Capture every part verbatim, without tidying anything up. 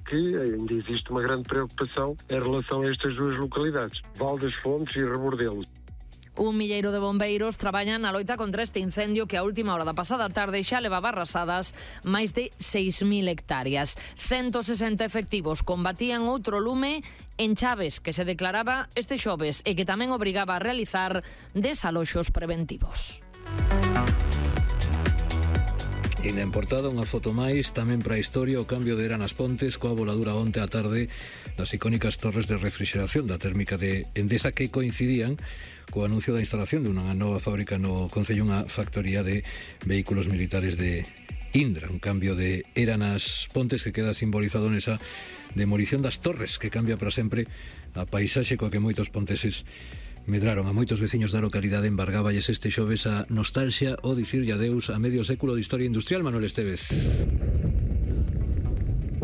que ainda existe uma grande preocupação em relação a estas duas localidades, Val das Fontes e Rebordelo. Un milleiro de bombeiros traballan na loita contra este incendio que a última hora da pasada tarde xa levaba arrasadas máis de seis mil hectáreas. ciento sesenta efectivos combatían outro lume en Chaves que se declaraba este xoves e que tamén obrigaba a realizar desaloxos preventivos. E na portada unha foto máis tamén para a historia, o cambio de Eran as Pontes coa voladura onte á tarde das icónicas torres de refrigeración da térmica de Endesa que coincidían co anuncio da instalación de unha nova fábrica no concello, unha factoría de vehículos militares de Indra, un cambio de Eran as Pontes que queda simbolizado nesa demolición das torres que cambia para sempre a paisaxe coa que moitos ponteses medraron. A moitos veciños da localidade embargáballes este xoves a nostalgia o dicirlle adeus a medio século de historia industrial. Manuel Estevez.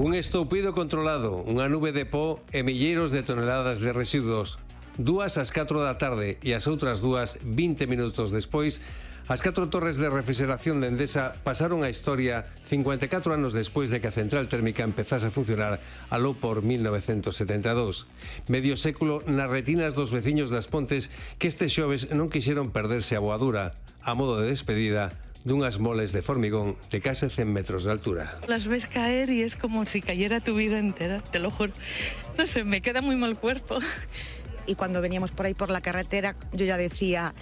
Un estoupido controlado, unha nube de pó e milleiros de toneladas de residuos. Dúas ás catro da tarde e as outras dúas vinte minutos despois, as catro torres de refrigeración de Endesa pasaron a historia cincuenta e catro anos despois de que a central térmica empezase a funcionar aló por mil novecentos setenta e dous. Medio século nas retinas dos veciños das Pontes que este xoves non quixeron perderse a voadura, a modo de despedida dunhas moles de formigón de case cen metros de altura. Las ves caer y es como si cayera tu vida entera, te lo juro. No sé, me queda muy mal cuerpo. Y cuando veníamos por ahí por la carretera, yo ya decía,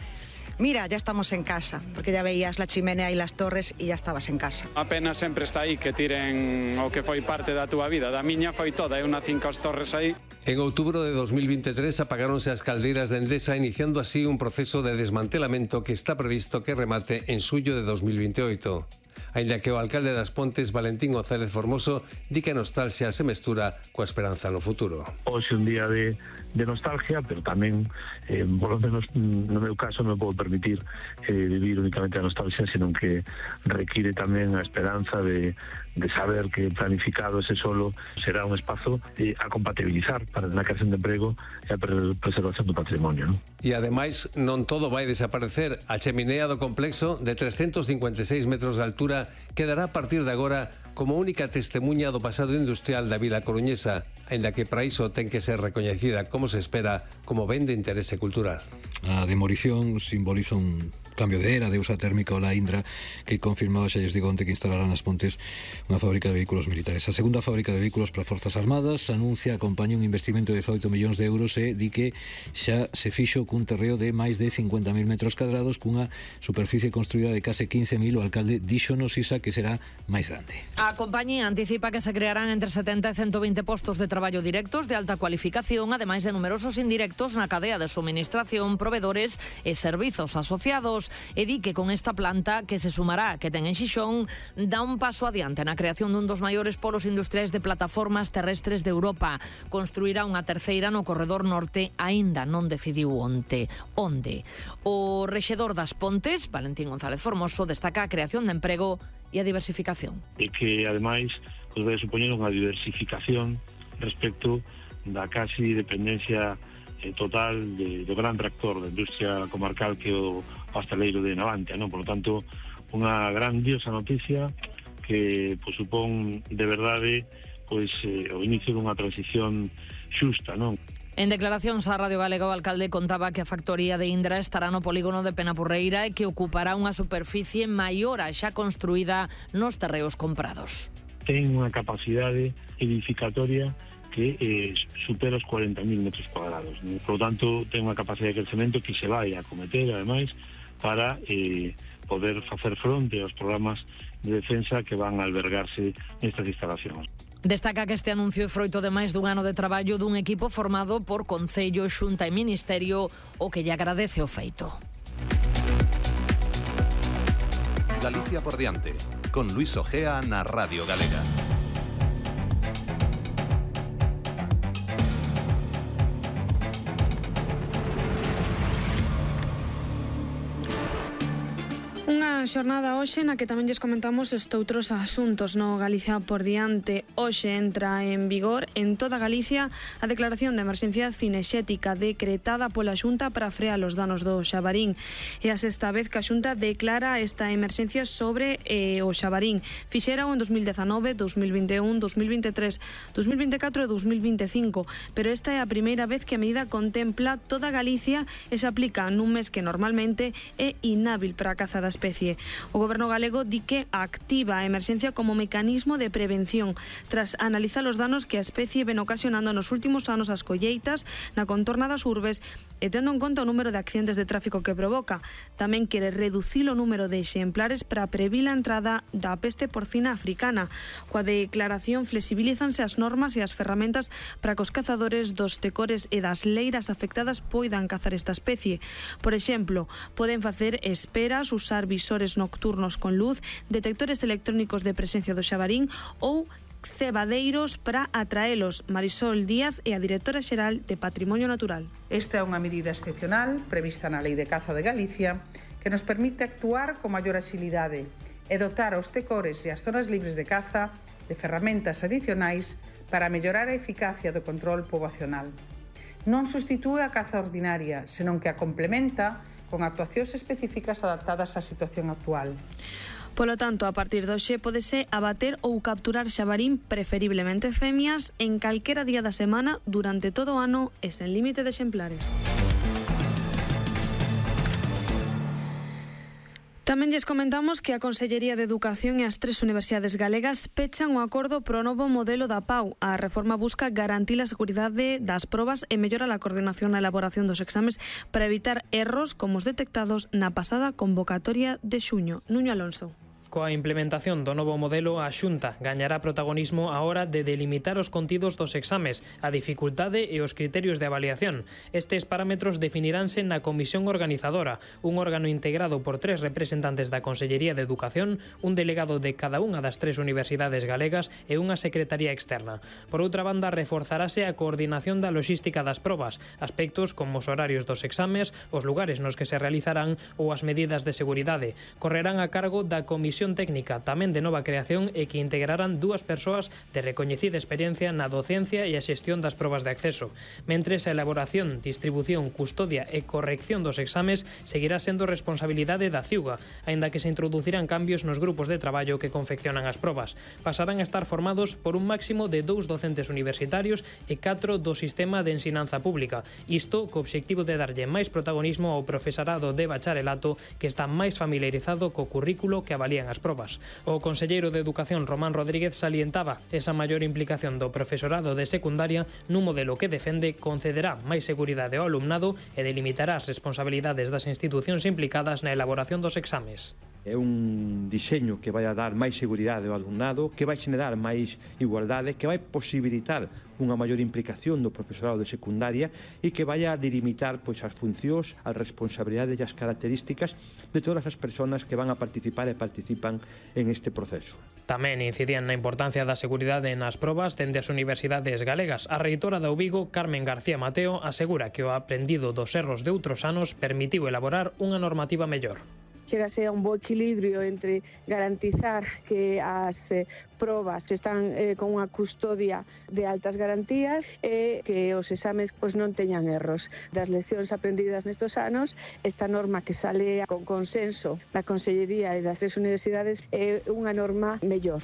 mira, ya estamos en casa, porque ya veías la chimenea y las torres y ya estabas en casa. A pena sempre está aí que tiren o que foi parte da túa vida, da miña foi toda, é unha cinco as torres aí. En outubro de dos mil veintitrés apagáronse as caldeiras de Endesa, iniciando así un proceso de desmantelamento que está previsto que remate en suyo de dos mil veintioito. Ainda que o alcalde das Pontes, Valentín González Formoso, di que a nostalgia se mestura coa esperanza no futuro. Hoxe un día de, de nostalgia, pero tamén, eh, por lo menos no meu caso, non podo permitir eh, vivir únicamente a nostalgia, senón que require tamén a esperanza de, de saber que planificado ese solo será un espazo eh, a compatibilizar para a creación de emprego e a preservación do patrimonio, non? E ademais non todo vai desaparecer. A cheminea do complexo de trescentos cincuenta e seis metros de altura quedará a partir de agora como única testemunha do pasado industrial da vila coruñesa, aínda que para iso ten que ser recoñecida, como se espera, como ben de interese cultural. A demolición simboliza un cambio de era de usa térmica o la Indra que confirmaba xa lles digo onte que instalarán nas Pontes unha fábrica de vehículos militares. A segunda fábrica de vehículos para Forzas Armadas anuncia acompaña un investimento de dezaoito millóns de euros e di que xa se fixo cun terreo de máis de cincuenta mil metros cadrados cunha superficie construída de case quince mil. O alcalde díxonos Isa que será máis grande. A compañía anticipa que se crearán entre setenta e ciento vinte postos de traballo directos de alta cualificación, ademais de numerosos indirectos na cadea de suministración, proveedores e servizos asociados. E di que con esta planta que se sumará que ten en Xixón dá un paso adiante na creación dun dos maiores polos industriais de plataformas terrestres de Europa. Construirá unha terceira no corredor norte, aínda non decidiu onte. Onde? O rexedor das Pontes, Valentín González Formoso, destaca a creación de emprego e a diversificación. E que, ademais, pues, vai supoñer unha diversificación respecto da casi dependencia eh, total de, do gran tractor da industria comarcal que é o pasteleiro de Navantia, non? Por lo tanto, unha grandiosa noticia que pues, supón de verdade pois eh, o inicio dunha transición xusta, non? En declaracións á Radio Galega, o alcalde contaba que a factoría de Indra estará no polígono de Penapurreira e que ocupará unha superficie maior a xa construída nos terreos comprados. Ten unha capacidade edificatoria que eh, supera os cuarenta mil metros cuadrados. ¿no? Por lo tanto, ten unha capacidade de crecemento que se vai a acometer, ademais, para eh, poder facer fronte aos programas de defensa que van a albergarse nestas instalacións. Destaca que este anuncio é froito de máis dun ano de traballo dun equipo formado por Concello, Xunta e Ministerio, o que lle agradece o feito. Galicia por diante, con Luis Ojea na Radio Galega. Unha Unha xornada hoxe na que tamén lles comentamos estoutros asuntos no Galicia por diante. Hoxe entra en vigor en toda Galicia a declaración de emerxencia cinexética decretada pola Xunta para frear os danos do Xabarín. É a sexta vez que a Xunta declara esta emerxencia sobre eh, o Xabarín. Fixera en dos mil dezanove, dos mil vinte e un, dos mil vinte e tres, dos mil vinte e catro e dos mil vinte e cinco, pero esta é a primeira vez que a medida contempla toda Galicia e se aplica nun mes que normalmente é inhábil para a caza da especie. O Goberno galego di que activa a emerxencia como mecanismo de prevención tras analizar os danos que a especie ven ocasionando nos últimos anos as colleitas na contorna das urbes e tendo en conta o número de accidentes de tráfico que provoca. Tamén quere reducir o número de exemplares para previr a entrada da peste porcina africana. Coa declaración flexibilízanse as normas e as ferramentas para que os cazadores dos tecores e das leiras afectadas poidan cazar esta especie. Por exemplo, poden facer esperas, usar visores nocturnos con luz, detectores electrónicos de presencia do xabarín ou cebadeiros para atraelos. Marisol Díaz é a directora xeral de Patrimonio Natural. Esta é unha medida excepcional prevista na Lei de Caza de Galicia que nos permite actuar con maior axilidade e dotar aos tecores e as zonas libres de caza de ferramentas adicionais para mellorar a eficacia do control poboacional. Non substitúe a caza ordinaria, senón que a complementa con actuacións específicas adaptadas á situación actual. Polo tanto, a partir de hoxe pódese abater ou capturar xabarín, preferiblemente femias, en calquera día da semana durante todo o ano e sen límite de exemplares. Tamén lles comentamos que a Consellería de Educación e as tres universidades galegas pechan o acordo pro novo modelo da P A U. A reforma busca garantir a seguridade das probas e mellorar a coordinación na elaboración dos exames para evitar erros como os detectados na pasada convocatoria de xuño. Nuño Alonso. Coa implementación do novo modelo, a Xunta gañará protagonismo á hora de delimitar os contidos dos exames, a dificultade e os criterios de avaliación. Estes parámetros definiránse na Comisión Organizadora, un órgano integrado por tres representantes da Consellería de Educación, un delegado de cada unha das tres universidades galegas e unha secretaría externa. Por outra banda, reforzarase a coordinación da logística das probas, aspectos como os horarios dos exames, os lugares nos que se realizarán ou as medidas de seguridade. Correrán a cargo da Comisión Técnica, tamén de nova creación, e que integrarán dúas persoas de recoñecida experiencia na docencia e a xestión das probas de acceso. Mentres, a elaboración, distribución, custodia e corrección dos exames seguirá sendo responsabilidade da Ciuga, aínda que se introducirán cambios nos grupos de traballo que confeccionan as probas. Pasarán a estar formados por un máximo de dous docentes universitarios e catro do sistema de ensinanza pública, isto co obxectivo de darlle máis protagonismo ao profesorado de bacharelato que está máis familiarizado co currículo que avalían as probas. O conselleiro de Educación, Román Rodríguez, salientaba esa maior implicación do profesorado de secundaria nun modelo que defende concederá máis seguridade ao alumnado e delimitará as responsabilidades das institucións implicadas na elaboración dos exames. É un diseño que vai a dar máis seguridade ao alumnado, que vai xenerar máis igualdade, que vai posibilitar unha maior implicación do profesorado de secundaria e que vai a delimitar pois, as funcións, as responsabilidades e as características de todas as persoas que van a participar e participan en este proceso. Tamén incidían na importancia da seguridade nas probas dende as universidades galegas. A reitora da U Vigo, Carmen García Mateo, asegura que o aprendido dos erros de outros anos permitiu elaborar unha normativa mellor. Chegase a un bo equilibrio entre garantizar que as eh, probas están eh, con unha custodia de altas garantías e que os exames pois, non teñan erros. Das leccións aprendidas nestos anos, esta norma que sale con consenso da Consellería e das tres universidades é unha norma mellor.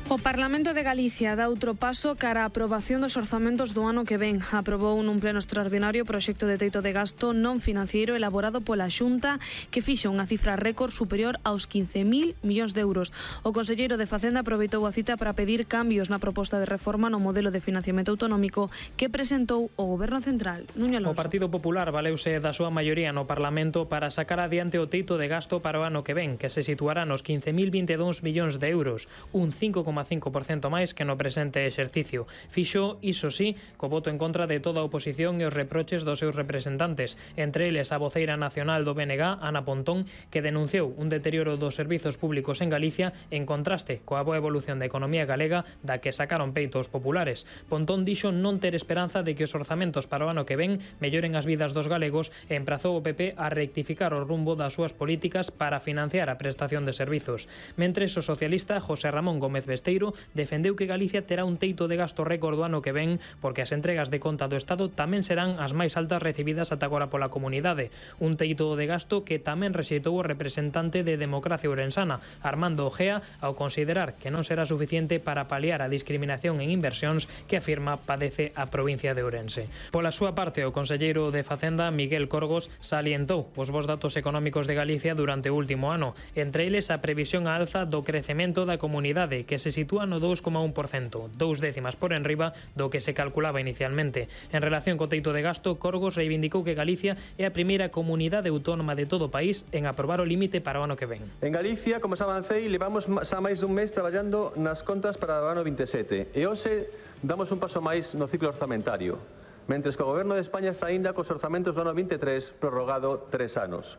O Parlamento de Galicia dá outro paso cara á aprobación dos orzamentos do ano que ven. Aprobou nun pleno extraordinario o proxecto de teito de gasto non financiero elaborado pola Xunta que fixa unha cifra récord superior aos quince mil millóns de euros. O conselleiro de Facenda aproveitou a cita para pedir cambios na proposta de reforma no modelo de financiamento autonómico que presentou o Goberno Central. Nuño Alonso. O Partido Popular valeuse da súa maioría no Parlamento para sacar adiante o teito de gasto para o ano que ven, que se situará nos quince mil vinte e dous millóns de euros, un cinco coma coma cinco por cento máis que no presente exercicio. Fixo, iso sí, co voto en contra de toda a oposición e os reproches dos seus representantes, entre eles a voceira nacional do B N G, Ana Pontón, que denunciou un deterioro dos servizos públicos en Galicia en contraste coa boa evolución da economía galega da que sacaron peito os populares. Pontón dixo non ter esperanza de que os orzamentos para o ano que ven melloren as vidas dos galegos e emprazou o P P a rectificar o rumbo das súas políticas para financiar a prestación de servizos. Mentres, o socialista José Ramón Gómez Besteiro defendeu que Galicia terá un teito de gasto récord do ano que ven porque as entregas de conta do Estado tamén serán as máis altas recibidas ata agora pola comunidade. Un teito de gasto que tamén rexeitou o representante de Democracia Ourensana, Armando Ojea, ao considerar que non será suficiente para paliar a discriminación en inversións que afirma padece a provincia de Ourense. Pola súa parte, o conselleiro de Facenda, Miguel Corgos, salientou os bons datos económicos de Galicia durante o último ano, entre eles a previsión a alza do crecemento da comunidade, que se sitúa no dous coma un por cento, dous décimas por enriba do que se calculaba inicialmente. En relación co teito de gasto, Corgos reivindicou que Galicia é a primeira comunidade autónoma de todo o país en aprobar o límite para o ano que ven. En Galicia, como xa avancei, levamos xa máis dun mes traballando nas contas para o ano vinte e sete e hoxe damos un paso máis no ciclo orzamentario, mentres que o Goberno de España está aínda cos orzamentos do ano vinte e tres prorrogado tres anos.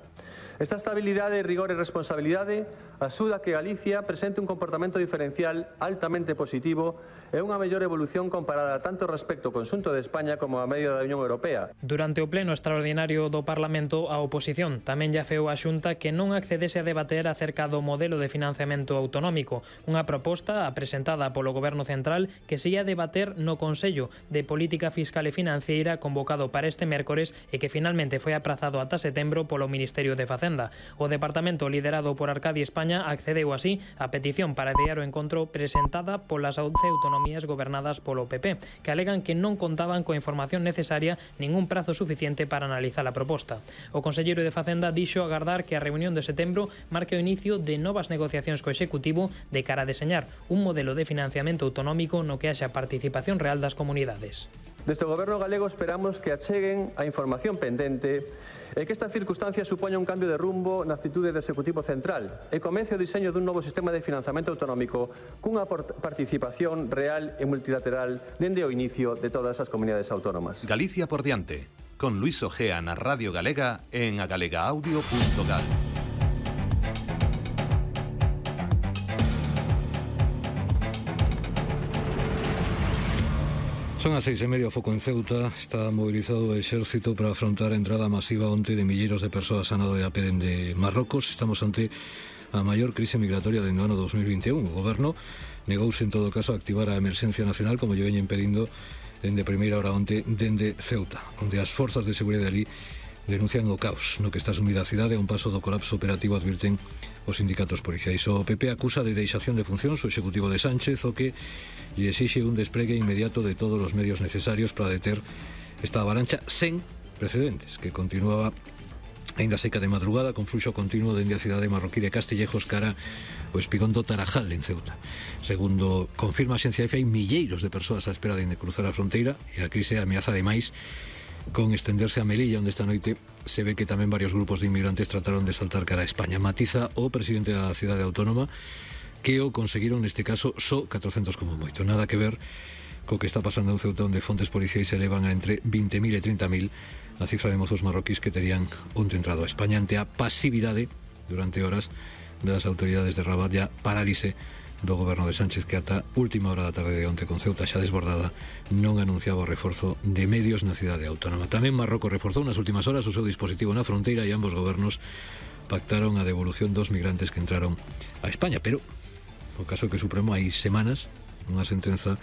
Esta estabilidade, rigor e responsabilidade axuda a que Galicia presente un comportamento diferencial altamente positivo e unha mellor evolución comparada tanto respecto ao conxunto de España como a media da Unión Europea. Durante o pleno extraordinario do Parlamento, a oposición tamén lle afeou a Xunta que non accedese a debater acerca do modelo de financiamento autonómico, unha proposta presentada polo Goberno Central que se ia debater no Consello de Política Fiscal e Financiera convocado para este mércores e que finalmente foi aprazado ata setembro polo Ministerio de Facenda. O departamento liderado por Arcadi España accedeu así á petición para adiar o encontro presentada polas once autonomías gobernadas polo P P, que alegan que non contaban coa información necesaria nin un prazo suficiente para analizar a proposta. O conselleiro de Facenda dixo agardar que a reunión de setembro marque o inicio de novas negociacións co Executivo de cara a deseñar un modelo de financiamento autonómico no que haxa participación real das comunidades. Desde o Goberno galego esperamos que acheguen a información pendente e que esta circunstancia supoña un cambio de rumbo na actitude do Executivo Central e comece o diseño dun novo sistema de financiamento autonómico cunha participación real e multilateral dende o inicio de todas as comunidades autónomas. Galicia por diante, con Luis Ojea na Radio Galega en agalegaaudio punto gal. Son as seis e media, o foco en Ceuta. Está mobilizado o exército para afrontar a entrada masiva onte de milleiros de persoas a nado de a pé dende Marrocos. Estamos ante a maior crise migratoria dende o ano dos mil vinte e un. O goberno negouse en todo caso a activar a emerxencia nacional, como lle veñen pedindo dende primeira hora onte dende Ceuta, onde as forzas de seguridade ali denuncian o caos no que está sumida a cidade a un paso do colapso operativo, advirten os sindicatos policiais. O P P acusa de deixación de funcións o executivo de Sánchez, o que lle exixe un despregue inmediato de todos os medios necesarios para deter esta avalancha sen precedentes, que continuaba aínda seca de madrugada con fluxo continuo dende a cidade marroquí de Castillejos cara o espigón do Tarajal en Ceuta. Segundo confirma a Xencia Efe, hai milleiros de persoas á espera de cruzar a fronteira e a crise ameaza ademais con estenderse a Melilla, onde esta noite se ve que tamén varios grupos de inmigrantes trataron de saltar cara a España. Matiza o presidente da cidade autónoma que o conseguiron neste caso só catrocentos como moito. Nada que ver co que está pasando en Ceuta, onde fontes policiais se elevan a entre vinte mil e trinta mil a cifra de mozos marroquíes que terían onte entrado a España ante a pasividade durante horas das autoridades de Rabat e a parálise do goberno de Sánchez, que ata última hora da tarde de onte con Ceuta xa desbordada non anunciaba o reforzo de medios na cidade autónoma. Tamén Marrocos reforzou nas últimas horas o seu dispositivo na fronteira e ambos gobernos pactaron a devolución dos migrantes que entraron a España, pero o caso que o Supremo hai semanas unha sentenza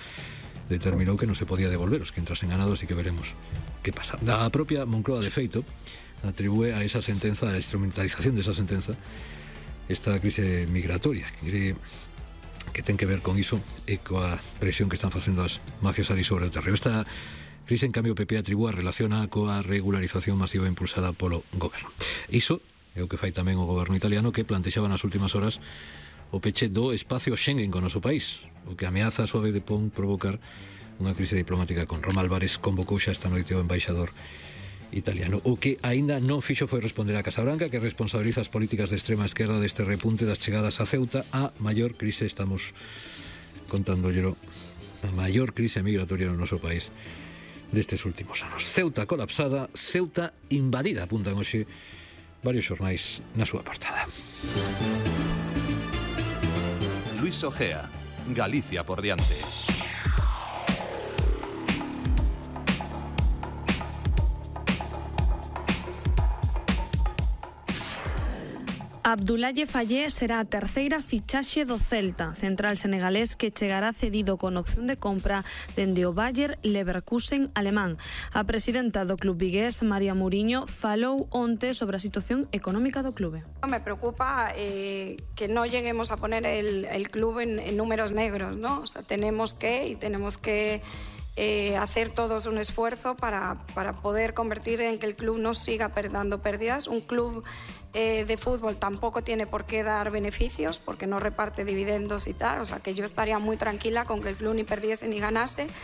determinou que non se podía devolver os que entrasen ganados e que veremos que pasa. A propia Moncloa, de feito, atribúe a esa sentenza, a instrumentalización desa sentenza, esta crise migratoria que cree que ten que ver con iso e coa presión que están facendo as mafias ali sobre o terreo. Esta crise, en cambio, o P P atribúa relaciona coa regularización masiva impulsada polo goberno. Iso é o que fai tamén o goberno italiano, que plantexaba nas últimas horas o peche do espacio Schengen con o noso país, o que ameaza a súa vez de pon provocar unha crise diplomática con Roma. Álvarez convocou xa esta noite o embaixador italiano. O que aínda non fixo foi responder a Casa Branca, que responsabiliza as políticas de extrema esquerda deste repunte das chegadas a Ceuta. A maior crise, estamos contándolo a maior crise migratoria no noso país destes últimos anos. Ceuta colapsada, Ceuta invadida, apuntan hoxe varios xornais na súa portada. Luis Ojea, Galicia por diante. Abdoulaye Fallé será a terceira fichaxe do Celta, central senegalés que chegará cedido con opción de compra dende o Bayer Leverkusen alemán. A presidenta do club vigués, María Muriño, falou onte sobre a situación económica do clube. Me preocupa eh, que no lleguemos a poner el, el club en, en números negros, ¿no? O sea, tenemos que y tenemos que Eh, hacer todos un esfuerzo para, para poder convertir en que el club no siga dando pérdidas. Un club eh, de fútbol tampoco tiene por qué dar beneficios porque no reparte dividendos y tal, o sea que yo estaría muy tranquila con que el club ni perdiese ni ganase.